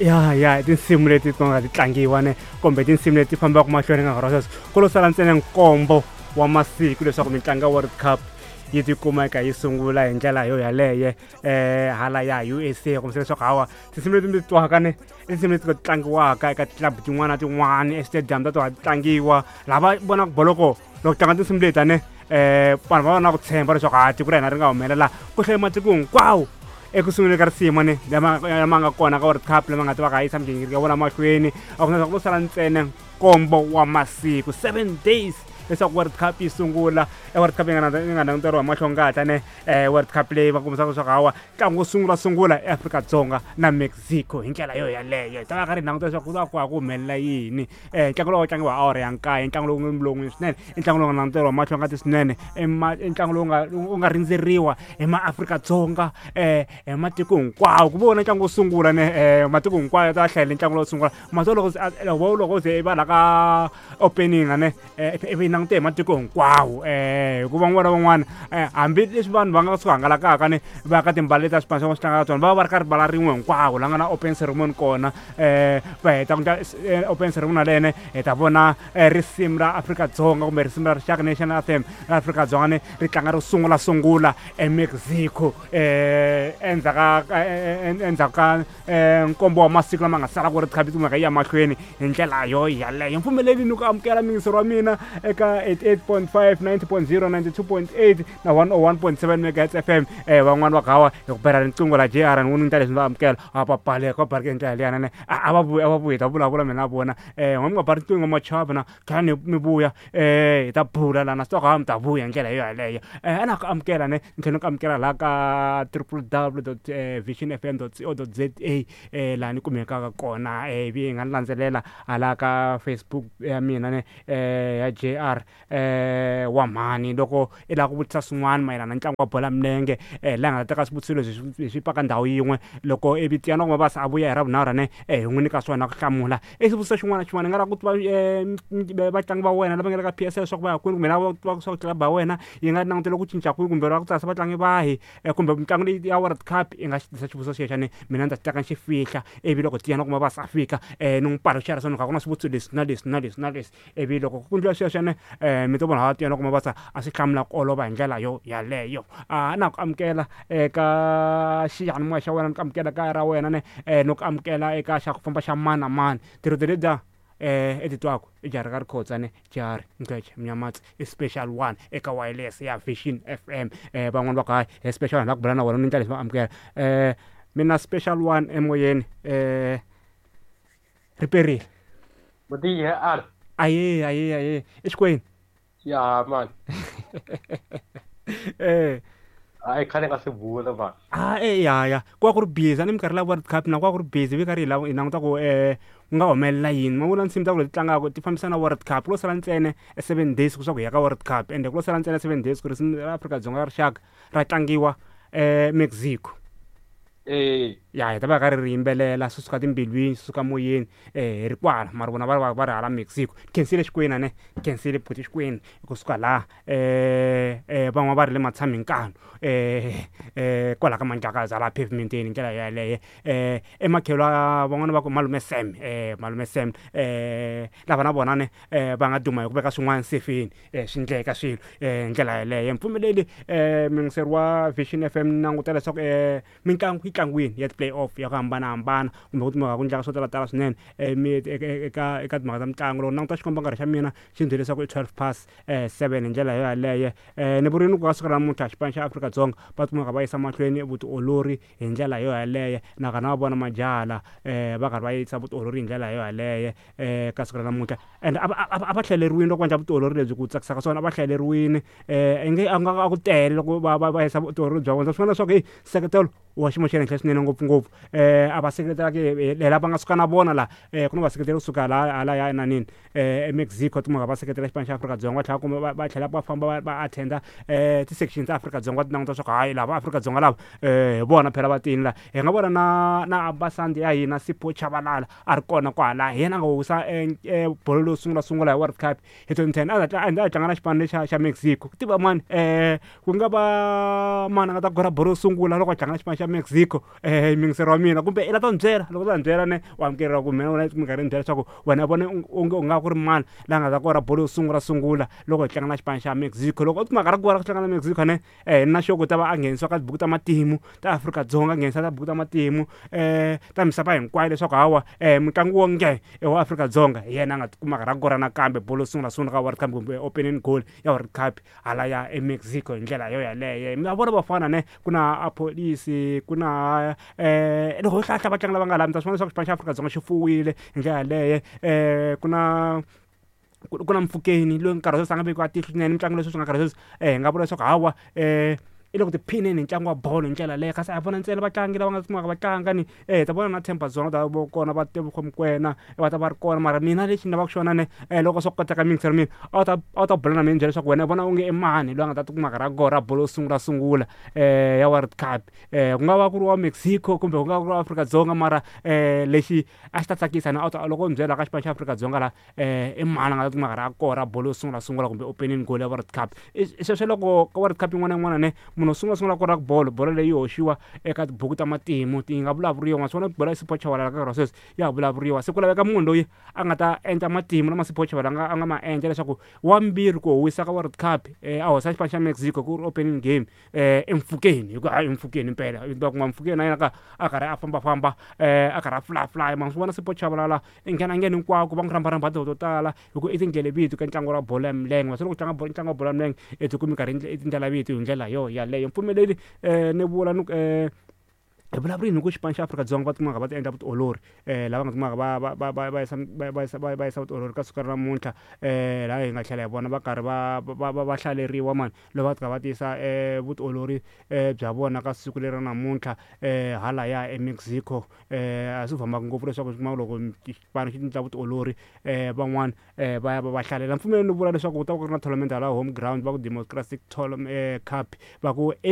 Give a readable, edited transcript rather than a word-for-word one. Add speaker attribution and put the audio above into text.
Speaker 1: Ya ya i tinsimu leti ti nga ti tlangiwa ne kumbe tinsimu leti fambaka mahlweni ka nkarhi wa sweswi. Ku lo sala ntsena nkombo wa masiku leswaku mitlangu ya World Cup yi tikuma eka yi sungula hi ndlela yo yaleye hala ya USA, kombisa leswaku hawa tinsimu leti mi ti twaka ne i tinsimu leti ti tlangiwaka eka ti-club tin'wana na tin'wana estadium ta tona ti tlangiwa lava vonaka boloko loko tlanga tinsimu leti ane vanhu va va na ku tshemba leswaku ha tiko ra hina ri nga humelela ku hlaya matiko hinkwawo eku sunguleni ka risimu ne lama nga kona ka World Cup lama nga ta va ka yisa migingiriko ya vona mahlweni. A ku na leswaku ku sala ntsena nkombo wa masiku, 7 days, leswaku World Cup yi sungula. E World Cup yi nga languteriwa hi mahlo ngata ne World Cup leyi va kombisaka leswaku hawa ntlangu wo sungula sungula eAfrika-Dzonga na Mexico. Hi ndlela yo yaleyo hi ta va karhi hi languta leswaku ku va ku ha ku humelela yini. Ntlangu lowu tlangiwa hi awara ya 9, ntlangu lowu nga lowun'we swinene, i ntlangu lowu nga languteriwa mahlo ngati swinene, i ntlangu lowu nga wu nga rindzeriwa hi maAfrika-Dzonga, hi matiko hinkwawo. Ku vona ntlangu wo sungula ne matiko hinkwawo ya ta hlayela ntlangu lowo sungula mato loko loko loko ze va la ka opening ne ivi yi langute hi matiko hinkwawo, hikuva van'wana na van'wana, hambileswi vanhu va nga swi hangalakaka ne va ka timbala leti ta swipano swa swi tlangaka tsona, va va va ri ka rivala rin'we hinkwavo la nga na open ceremony kona. Va heta ku endla open ceremony yalene, hi ta vona risimu ra Afrika-Dzonga kumbe risimu ra rixaka, national anthem ra Afrika-Dzonga ne ri tlanga ro sungula sungula eMexico endzhaku ka endzhaku ka nkombo wa masiku lama nga sala ku ri khabi kumeka yi ya mahlweni hi ndlela yo yaleyo. Mpfumeleli ni ku amukela miyingiseri wa mina eka 88.5, 90.0, 92.8 na 101.7 megahertz FM. Van'wani va gawa hi ku bela riqingho la JR ni n'wi leswi va amukela a va baleka va baleka hi ndlela liyana ne a va vuyi, a va vuyi, hi ta vulavula mina na vona. N'we mi nga ba riqingho machava na tlhela ni mi vuya hi ta bula lana swi tiva ku mi ta vuya hi ndlela yo yaleyo. A na ku amukela ne ni tlhela ni ku amukela laha ka triple w dot vision fm dot co dot za, laha ni kumekaka kona, ivi hi nga ni landzelela hala ka Facebook ya mina ne ya JR wa mhani. Loko i lava ku vutisa swin'wana mayelana na ntlangu wa bolo ya milenge, laha nga ta teka swivutiso leswi hi swi paka ndhawu yin'we, loko ivi Tiyani wa Mabasa a vuya hi Ravunharhu ne hi n'wi nyika swona ku hlamula i xivutiso xin'wana na xin'wana. I nga lava ku tiva vatlangi va wena lava nga le ka PSL leswaku va ya kwini, kumbe lava ku tiva swa ku club ya wena yi nga langutela ku cinca kwihi, kumbe lava ku tsarisa vatlangi vahi, kumbe mitlangu leyi ya World Cup, i nga xi tisa xivutiso xexo ne mina ni ta xi teka ni xi fihla, ivi loko Tiyani wa Mabasa a fika ni n'wi paluxela swa ni ku a ku na swivutiso leswi na leswi na leswi na leswi. Ivi loko ku endliwa sweswo ne mi to vona Tiyani wa Mabasa a swi hlamula ku olova hi ndlela yo yaleyo. A na ku amukela eka xiyanimoya xa wena, ni ku amukela kaya ra wena ne no ku amukela eka xa ku famba xa mani na mani. Tirhito letiya i ti twaku i jaha ra ka Rikhotsa ne Jari Ngece Mnyamatsi i special one eka wireless ya Vision FM. Van'wani va ku hayi he special one la ku bula na wena ni ndlela leswi va amukela mina special one emoyeni ri perile.
Speaker 2: Mutiye ar.
Speaker 1: Aye aye aye i Xikwembu.
Speaker 2: Ya man. Hayi khale nga swi bula man.
Speaker 1: A e ya ya ku va ku ri busy a ni minkarhi la World Cup na ku va ku ri busy vi karhi hi lava hi languta ku ku nga humelela yini. Ma vona nsimu ta ku leti tlangaka ti fambisana na World Cup, ku lo sala ntsena e 7 days ku swa ku hi ya ka World Cup, ende ku lo sala ntsena 7 days ku risimu ra Afrika-Dzonga ra rixaka ra tlangiwa Mexico. Ya hi ta va karhi ri yimbelela swi suka timbilwini, swi suka moyeni, hi ri kwala mara vona va va va ri hala Mexico. Khensile Xikwena ne khensile buti Xikwena kusuka laha van'wana va ri le Matshamikano, kwala ka Mandlakazi hala pavement-eni hi ndlela yaleyo. Ematlhelo van'wani va ku malume Sam, malume Sam, lava na vona ne va nga duma hi ku veka swin'wana sefeni, swi endleka swilo hi ndlela yaleyo. Mpfumeleli muyingiseri wa Vision FM ni languta leswaku mitlangu yi tlangiwini ya ti-play off ya ku hambanahambana kumbe ku timhaka ku endleka swo talatala swinene eka eka timhaka ta mitlangu. Loko ni languta xikombankarhi xa mina xi ni byele leswaku i 12 past 7 hi ndlela yo yaleyo. Ni vurile ku ka siku ra namuntlha xipano xa Afrika-Dzonga va kumeka va yisa mahlweni vutiolori hi ndlela yo yaleyo, nakona va vona majaha la va karhi va yisa vutiolori hi ndlela yo yaleyo ka siku ra namuntlha. And a va a va hlaleriwile loko va endla vutiolori lebyi, ku tsakisa ka swona a va hlaleriwile, i nge a nga a ku tele loko va va va yisa vutiolori bya vona. Swi vona leswaku heyi nseketelo wa xiyimo xa le henhla swinene ngopfungopfu a va seketelaki lava nga suka na vona la, ku na vaseketeri kusuka laha halaya enanini eMexico timhaka va seketela xipano xa Afrika-Dzonga, va tlhela kumbe va tlhela va famba va va attend-a ti-section ta Afrika-Dzonga va ti languta leswaku hayi lava Afrika-Dzonga lava hi vona phela va tini la. Hi nga vona na na ambassador ya hina Sipho Chabalala a ri kona kwala, hi yena a nga wisa bolo leyo sungula sungula hi World Cup hi 2010, a ta a tlanga na xipano lexa xa Mexico. Ku tiva mani ku nga va mani a nga ta kora bolo yo sungula loko a tlanga na xipano xa Mexico. Mexico miyingiseri wa mina kumbe i la ta ni byela loko ta ni byela ne u amukeriwa ku mina wena minkarhi ni byela leswaku wena vona onge u nga ku ri mani la nga ta kora bolo yo sungula sungula loko hi tlanga na xipano xa Mexico. Loko u kuma karhi ku tlanga na Mexico ne na sure ku ta va a nghenisiwa ka tibuku ta matimu ta Afrika-Dzonga, nghenisa ta tibuku ta matimu ta misava hinkwayo leswaku hawa mutlangi wo nge wa Afrika-Dzonga hi yena a nga tikuma karhi a kora nakambe bolo yo sungula sungula ka World Cup kumbe opening goal ya World Cup hala ya eMexico hi ndlela yo yaleyo. Mi va vona vafana ne ku na Appollis, ku na loko ho hlahla vatlangi lava nga laha mi ta swi vona leswaku xipano xa Afrika-Dzonga xi fuwile hi ndlela yaleyo. Ku na Mofokeng loyi nkarhi wa sweswi a nga vekiwa tihlo swinene mitlangu leswi swi nga nkarhi sweswi hi nga vula leswaku hawa i le ku tiphineni hi ntlangu wa bolo hi ndlela leyo, kasi a hi vona ntsena vatlangi lava nga kumaka va tlanga ni hi ta vona na Themba Zwane ta va kona, va Tebogo Mokoena va ta va ri kona. Mara mina lexi ni lavaka xona ne loko swo koteka miyingiseri mina a wu ta bula na mina byela leswaku wena u vona onge i mani loyi a nga ta tikuma karhi a kora bolo yo sungula sungula ya World Cup, ku nga va ku ri wa Mexico kumbe ku nga va ku ri wa Afrika-Dzonga. Mara lexi a xi ta tsakisa ni a wu ta loko u ni byela ka xipano xa Afrika-Dzonga la i mani a nga ta tikuma karhi a kora bolo yo sungula sungula kumbe opening goal ya World Cup. Sweswo loko ka World Cup yin'wana na yin'wana ne munhu wo sungula sungula kora bolo, bolo leyi hoxiwa eka tibuku ta matimu, ti nga vulavuriwa. Ma swi vona bolo ya Sipho Chabalala ka nkarhi wa sweswi ya ha vulavuriwa, se ku laveka munhu loyi a nga ta endla matimu lama Sipho Chabalala a nga ma endla leswaku wa mbirhi ku howisa ka World Cup a hoxa xipano xa Mexico ku ri opening game eMofokeng, hi ku hayi eMofokeng impela va kuma Mofokeng na yena ka a karhi a fambafamba a karhi a fly fly. Ma swi vona Sipho Chabalala i nghena nghena hinkwako, va n'wi rhambarhamba to tala hi ku i tindlela vito ka ntlangu wa bolo ya milenge. Masiku loko tlanga bolo, ntlangu wa bolo ya milenge i tikumi karhi i tindlela vito hi ndlela yo yaleyo. Mpfumeleli ni vula ni hi vulavulini hi ku xipano xa Afrika-Dzonga va tikumaka va ti endla vutiolori lava nga tikumaka va yisa vutiolori ka siku ra namuntlha laha hi nga tlhela hi vona va karhi va hlaleriwa mani loko va tika va tiyisa vutiolori bya vona ka siku leri ra namuntlha halaya eMexico. A swi fambaka ngopfu leswaku kuma loko xipano xi endla vutiolori van'wani va ya va va hlalela. Mpfumelelo ni vula leswaku ku ta va ku ri na tournament hala home ground, va ku Democratic Cup va ku.